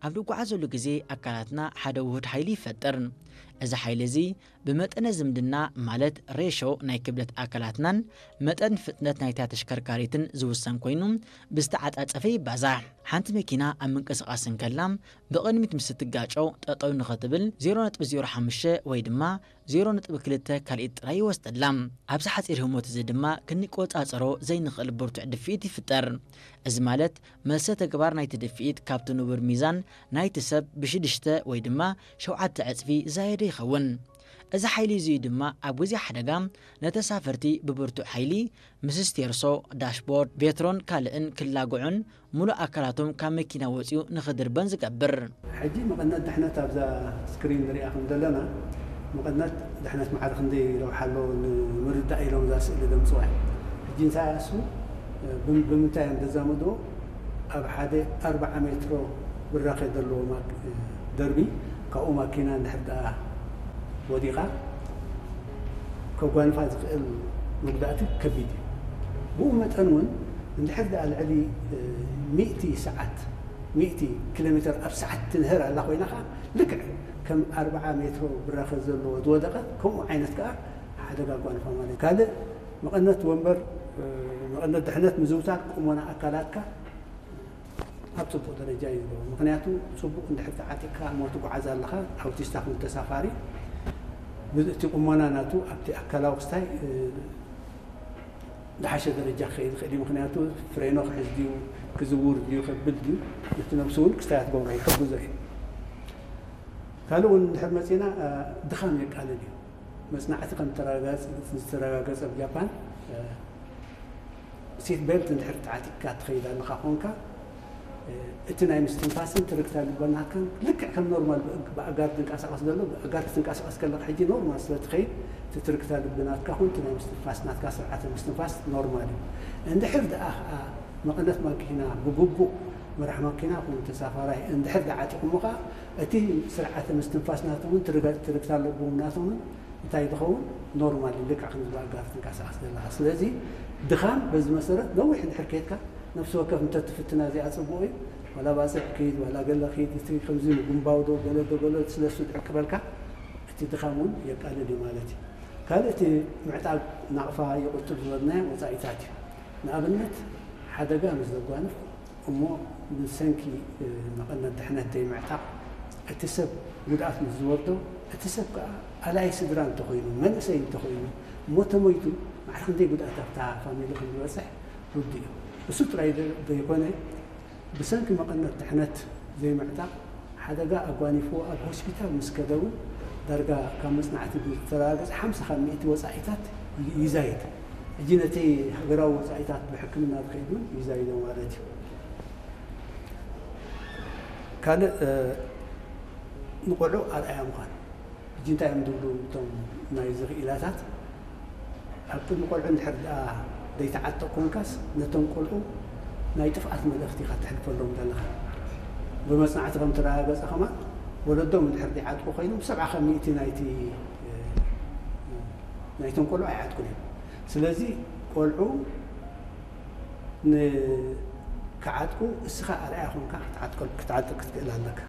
ኣብ ንጓዓዘሉ ግዜ ኣካላትና ሓደ ውሁድ ሓይሊ ይፈጥር። እዚ ሓይሊ እዚ ብመጠነ ዝምድና፣ ማለት ሬሾ ናይ ክብደት ኣካላትናን መጠን ፍጥነት ናይታ ተሽከርካሪትን ዝውሰን ኮይኑ፣ ብዝተዓጻጸፈ ይባዛሕ። ሓንቲ መኪና ኣብ ምንቅስቓስ እንከላ፣ ብቕድሚት ምስ እትጋጨው ጠጠው ንኽትብል ዜሮ ነጥቢ ዜሮ ሓሙሽተ ወይ ድማ ዜሮ ነጥቢ ክልተ ካልኢት ጥራይ ይወስደላ። ኣብዚ ሓጺር ህሞት እዚ ድማ ክንቆጻጸሮ ዘይንኽእል ብርቱዕ ድፍኢት ይፍጠር። እዚ ማለት፣ መልሰ ተግባር ናይቲ ድፍኢት ካብቲ ንቡር ሚዛን ናይቲ ሰብ ብሽዱሽተ ወይ ድማ ሸውዓተ ዕጽፊ ዝዛየደ ይኸውን። እዚ ሓይሊ እዚ ድማ ኣብ ግዜ ሓደጋ ነተሳፈርቲ ብብርቱዕ ሓይሊ ምስ ስቴርሶ፣ ዳሽቦርድ፣ ቬትሮን ካልእን ክላግዑን ምሉእ ኣካላቶም ካብ መኪና ወጺኡ ንኽድርበን ዝገብር። ሕጂ መቐነት ድሕነት ኣብዛ ስክሪን ንሪኣ ከም ዘለና፣ መቐነት ድሕነት ማዕረ ክንደይ ረብሓ ኣለዎ ንምርዳእ ኢሎም እዛ ስእሊ ዘምፅዋ እዮም። ሕጂ እንታይ እሱ፣ ብም-፣ ብምንታይ እዮም ዘዛመድዎ? ኣብ ሓደ ኣርብዓ ሜትሮ ብራኸ ዘለዎ ማክ-፣ ደርቢ፣ ካብኡ ማኪና እንድሕር ደኣ ወዲቓ፣ ከጓንፋ ዝኽእል መጉዳእቲ ከቢድ እዩ። ብኡ መጠን እውን እንድሕር ደኣ ልዕሊ፣ እ፣ ሚእቲ ሰዓት፣ ሚእቲ ኪሎ ሜትር ኣብ ሰዓት ትንህር ኣላ ኮይና ኸዓ፣ ልክዕ ከም ኣርብዓ ሜትሮ ብራኸ ዘለዎ ዝወደቐት፣ ከምኡ ዓይነት ከኣ ሓደጋ ኣጓንፋ ማለት እዩ። ካልእ መቐነት ወንበር፣ እ፣ መቐነት ድሕነት ምዝውታር ቁመና ኣካላትካ ኣብ ጽቡቕ ደረጃ እዩ ዝገብሮ። ምኽንያቱ ጽቡቕ እንድሕር ተዓጢቕካ እሞ ትጓዓዝ ኣለኻ፣ ኣውቲስታ ከም ተሳፋሪ፣ ብ-፣ እቲ ቁመና ናቱ ኣብቲ ኣካላዊ ክስታይ፣ እ፣ ዝሓሸ ደረጃ ክኸይድ ይኽእል እዩ። ምኽንያቱ ፍሬኖ ክሕዝ ድዩ፣ ክዝውር ድዩ፣ ከብል ድዩ፣ ነቲ ነብሱ እውን ክስታይ ክትገብሮ ይሕግዞ እዩ። ካልእ እውን እንድሕር መጺና፣ እ፣ ድኻም የቃልል እዩ። መጽናዕቲ ከም ተረጋገጸ፣ ዝተረጋገጸ ኣብ ጃፓን፣ እ፣ ሲት ቤልት እንድሕር ተዓጢቕካ ትኸይድ ኣለኻ ኾንካ፣ እ፣ እቲ ናይ ምስትንፋስን ትርግታ ልቢ ናትካን ልክዕ ከም ኖርማል ብእ-፣ ብኣጋር ትንቀሳቐስ ዘሎ፣ ብኣጋር ክትንቀሳቐስ ከለኻ ሕጂ ኖርማል ስለ ትኸይድ፣ እቲ ትርግታ ልቢ ናትካ ኹን እቲ ናይ ምስትንፋስ ናትካ ስርዓተ ምስትንፋስ ኖርማል እዩ። እንድሕር ደኣ ኸኣ መቐነት ማኪና ብግቡእ መራሕ ማኪና ኹን ተሳፋራይ እንድሕር ደኣ ዓጢቑሞ ኸኣ፣ እቲ ስርዓተ ምስትንፋስ ናቶም እውን ትርገ-፣ ትርግታ ልቦም ናቶም እውን እንታይ ዝኸውን ኖርማል እዩ፣ ልክዕ ከምዚ ብኣጋር ትንቀሳቐስ ዘለኻ። ስለዚ ድኻም በዚ መሰረት ነዊሕ እንድሕር ከይድካ ነፍሲ ወከፍ እንተትፍትና እዚኣ ጽቡቕ እዩ። ዋላ ባጽዕ ኪድ፣ ዋላ ገለ ኪድ፣ እቲ ከምዚ ምጉምባው ዶ ገለ ዶ ገለ ስለ እሱ ድዕቅበልካ እቲ ድኻም እውን የቃልል እዩ ማለት እዩ። ካልእ እቲ ምዕጣብ ናቕፋ ይቕጥብ ዝበልናዮ ወጻኢታት እዩ። ንኣብነት ሓደጋ ምስ ዘጓንፍ እሞ ብሰንኪ፣ እ፣ መቐነት ድሕነት ዘይምዕጣቕ እቲ ሰብ ጉድኣት ምስ ዝወርዶ፣ እቲ ሰብ ከኣ ኣላይ ስድራ እንተኾይኑ፣ መንእሰይ እንተኾይኑ፣ እሞ ተሞይቱ ማዕረ ክንደይ ጉድኣት ኣብታ ፋሚሊ ከም ዝበጽሕ ርዱእ እዩ። እሱ ጥራይ ዘ-፣ ዘይኮነ፣ ብሰንኪ መቐነት ድሕነት ዘይምዕጣቕ ሓደጋ ኣጓኒፍዎ ኣብ ሆስፒታል ምስ ከደ እውን ዳርጋ ካብ መጽናዕቲ ዝተረጋገጸ ሓምሳ ካብ ሚእቲ ወጻኢታት ይ-፣ ይዛይድ። ሕጂ ነቲ ሃገራዊ ወጻኢታት ብሕክምና ዝኸይድ እውን ይዛይዶ ማለት እዩ። ካልእ፣ እ፣ ንቆልዑ ኣርኣያ ምዃን። ሕጂ እንታይ እዮም ዝብሉ እቶም ናይዚ ክኢላታት? ኣብ ቅድሚ ቆልዑ እንድሕር ደኣ ዘይተዓጠቕ ኮንካስ፣ ነቶም ቆልዑ ናይ ጥፍኣት መልእኽቲ ኢኻ ተሕልፈሎም ዘለኻ። ብመጽናዕቲ ከም ተረጋገጸ ከማን፣ ወለዶም እንድሕር ዘይዓጥቁ ኮይኖም፣ ሰብዓ ካብ ሚእቲ ናይቲ፣ እ፣ ናይቶም ቆልዑ ኣይዓጥቁን እዮም። ስለዚ ቆልዑ ን-፣ ክዓጥቁ እስኻ ኣርኣያ ኮንካ ክትዓጥቀል-፣ ክትዓጥቅ ክትክእል ኣለካ።